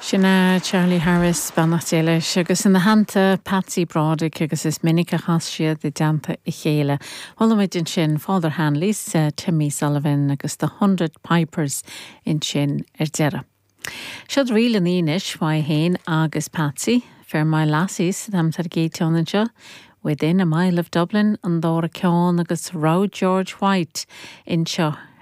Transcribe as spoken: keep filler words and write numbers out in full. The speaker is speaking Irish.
Sin é Charlie Harris beannacht Dé leis agus ina theannta Patsy Broderick agus is minic a chas siad i dteannta a chéile. Chuala muid ansin Father Hanley's, uh, Timmy Sullivan agus the Hundred Pipers ansin ar deireadh. Siod ríl an ínis fá héin agus Patsy, Fair My Lassies am tar gétean anseo, Within a Mile of Dublin an dara ceann agus Raw George White anseo